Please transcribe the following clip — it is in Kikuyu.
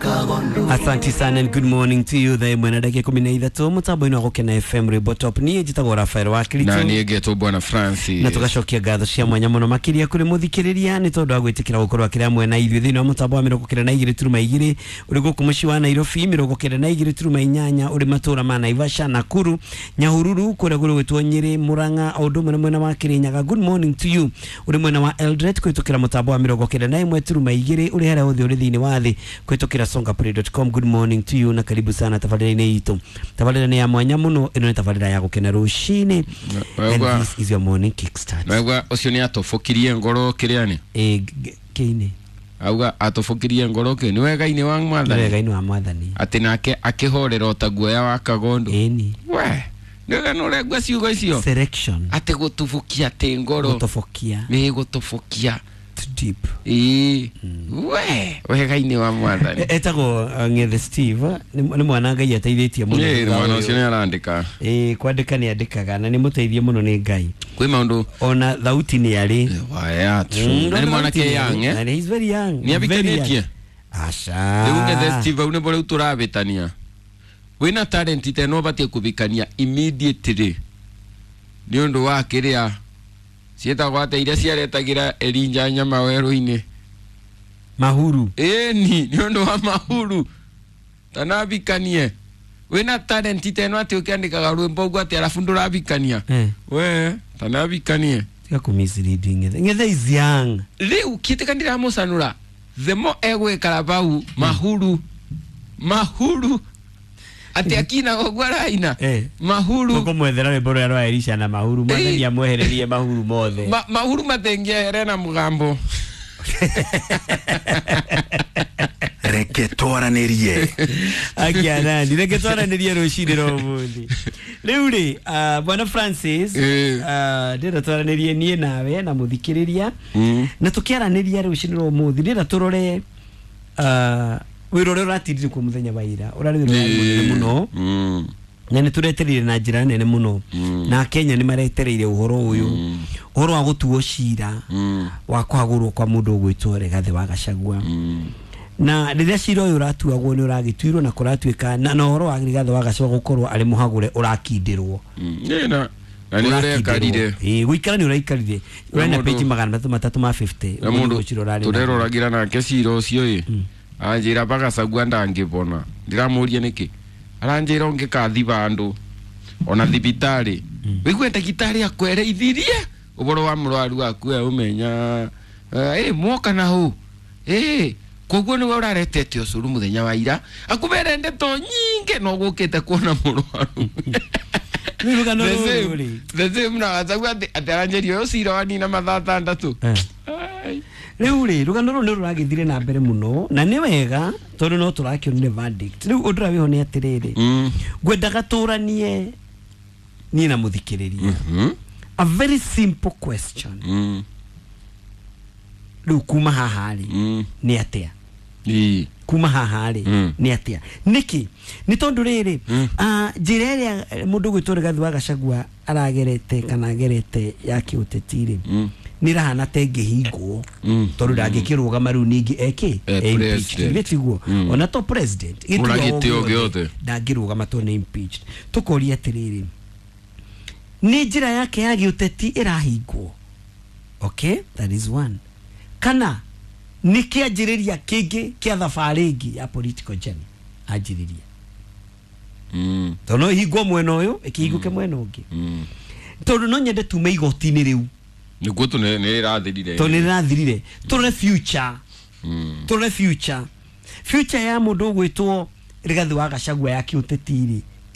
Asante sana and good morning to you. Thaa ĩmwe na ndagĩka 13 mũtambo-inĩ wa Gũkena FM Rwĩmbo Top. Niĩ njĩtagwo Rafael wa Kiritu na niä ngetwo bwana Francis na tũgacokia ngatho cia mwanya mũno makĩria kũrĩ mũthikĩrĩria nĩ tondũ wa gwĩtĩkĩra gũkorwo akĩrĩ hamwe na ithuĩ thĩinĩ wa mũtambo wa 92.2 ũrĩ gũkũ mũciĩ wa Nairobi, 92.8 ũrĩ matũra ma Naivasha, Nakuru, Nyahururu, kũrĩa kũrĩ gwĩtwo Nyĩrĩ, Murang'a, o ũndũ ũmwe na mwena wa Kĩrĩnyaga. Good morning to you ũrĩ mwena wa Eldoret kũhĩtũkĩra mũtambo wa 91.2 ũrĩ harĩa hothe ũrĩ thĩinĩ wa thĩ kũhĩtũkĩra songaplay.com. Good morning to you na karibu sana tabarĩra-inĩ itũ. Tabarĩra nĩ ya mwanya mũno, ĩno nĩ tabarĩra ya gũkena rũcinĩ. And this is your morning kickstart. Naigua å cio nä atåbåkirie ngoro kä rä anä Kĩinĩ auga atåbåkirie ngoro kä nä wega-inä wa mwathani wega-inĩ wa mwathani atä nake akä horera o ta guoya wa kagondo ĩni we nä wega nä ũrengua ciugo icio selection atä gå tubũkia atä ngoro gũtobokia nä gå tåbåkia too deep. ĩĩ we wega-inĩ wa mwathani Etagwo Ng'ethe Steve, nĩ mwana Ngai ateithĩtie mũno Ĩĩ, thutha mwana ũyũ. ũcio nĩ arandĩka. Ĩĩ, kwandĩka nĩ andĩkaga na nĩ mũteithie mũno nĩ Ngai, kwĩ maũndũ ona thauti nĩ arĩ. waya na nĩ mwanake young eh And he's very young. Nĩ Very abikanĩtie? young. Aca. Rĩu Ng'ethe Steve hau nĩbo rĩu tũrabĩtania wĩna talent ta ĩno ũbatiĩ kũbikania immediately nĩ ũndũ wa kĩrĩa ciĩtagwo atĩa iria ciaretagĩra Elijah nyama werũ-inĩ Mahuru. ĩni nĩ ũndũ wa mahuru tanabikanie wĩna talent ta ĩno atĩ ũkĩandĩkaga rwĩmbo ũguo atĩ arabu ndũrabikania Eh. we tanabikanie Tiga kũ mislead Ng'ethe. Ng'ethe is young. rĩu kĩtĩka ndiramũcanũra the more egwĩkara bau mahuru mahuru atĩ akinaga ũguo araina Eh. mahuru Tũkũmwethera rwĩmbo rũrĩa rwa Elisha na mahuru. Mwathani amwehererie mahuru mothe. Mahuru matengĩehere na mũgambo. Reke twaranĩrie. Akianani reke twaranĩrie rũcinĩ rwa ũmũthĩ. Rĩu rĩ, bwana Francis, ndĩrenda twaranĩrie niĩ nawe na mũthikĩrĩria na tũkĩaranĩria rũcinĩ rwa ũmũthĩ ndĩrenda tũrore wĩra ũrĩa ũratindire kuo mũthenya wa ira ũrarĩ wĩra ũrarĩ mũnene mũno na nĩ tũretereire na njĩra nene mũno na Kenya nĩ maretereire ũhoro ũyũ, ũhoro wa gũtuo cira wa kũhagũrwo kwa mũndũ ũgwĩtwo Rigathĩ wa Gachagua. Na rĩrĩa cira ũyũ ũratuagwo nĩ ũragĩtuirwo na kũratuĩka na ũhoro wa Rigathĩ wa Gachagua gũkorwo arĩ mũhagũre ũrakindĩrwo. Ĩĩ, na nĩ ũrekarire. Ĩĩ, gũikara nĩ ũraikarire ũrarĩ na mũndũ- page 350 na ũguo mũndũ nĩguo cira ũrarĩ naguo. tũreroragira nake cira ũcio ĩ anjĩra bagacagua ndangĩbona ndiramũria nĩkĩ aranjĩra ũngĩkathi bandũ ona thibitarĩ wĩigue ndagĩtarĩ akwereithirie ũboro wa mũrwaru waku we ũmenya ĩ mwoka na hũ ĩ koguo nĩwe ũraretete ũcũrũ mũthenya wa ira akũbere ndeto nyingĩ no gũkĩte kuona mũrwaru. Rĩu rũgano The rũrũ same- rĩ the same na Gachagua atĩ aranjĩria ũyũ cira wanina mathaa 6. Eh. Rĩu rĩ rũgano rũrũ nĩ rũragĩthire na mbere mũno na nĩ wega tondũ no tũrakĩonire verdict. Rĩu ũndũ ũrĩa wĩho nĩ atĩrĩrĩ, ngwendaga tũranie niĩ na mũthikĩrĩria a very simple question. Rĩu kuma haha rĩ nĩ atĩa? Ĩĩ. Kuma haha rĩ nĩ atĩa? Nĩkĩ? Nĩ tondũ rĩrĩ, njĩra ĩrĩa mũndũ ũgwĩtwo Rigathĩ wa Gachagua aragerete kana agerete ya kĩũteti rĩ nĩ ĩrahana ta ĩngĩhingwo tondũ ndangĩkĩrũgama rĩu ningĩ eke impeached. President. Githĩ tiguo? Ona to president Ona gĩtĩo gĩtĩo gĩothe. ndangĩrũgama tondũ nĩ impeached. Tũkoria atĩrĩrĩ, nĩ njĩra yake ya gĩũteti ĩrahingwo? Okay, that is one. Kana nĩ kĩanjĩrĩria kĩngĩ kĩa thabarĩ ĩngĩ ya political journey anjĩrĩria, tondũ no ĩhingwo mwena ũyũ ĩkĩhingũke mwena ũngĩ, tondũ no nyende tume igoti-inĩ rĩu nĩguo tu nĩ rĩrathirire tondũ nĩ rĩrathirire. Tũrore future, tũrore future ya mũndũ ũgwĩtwo Rigathĩ wa Gachagua ya kĩũteti rĩ.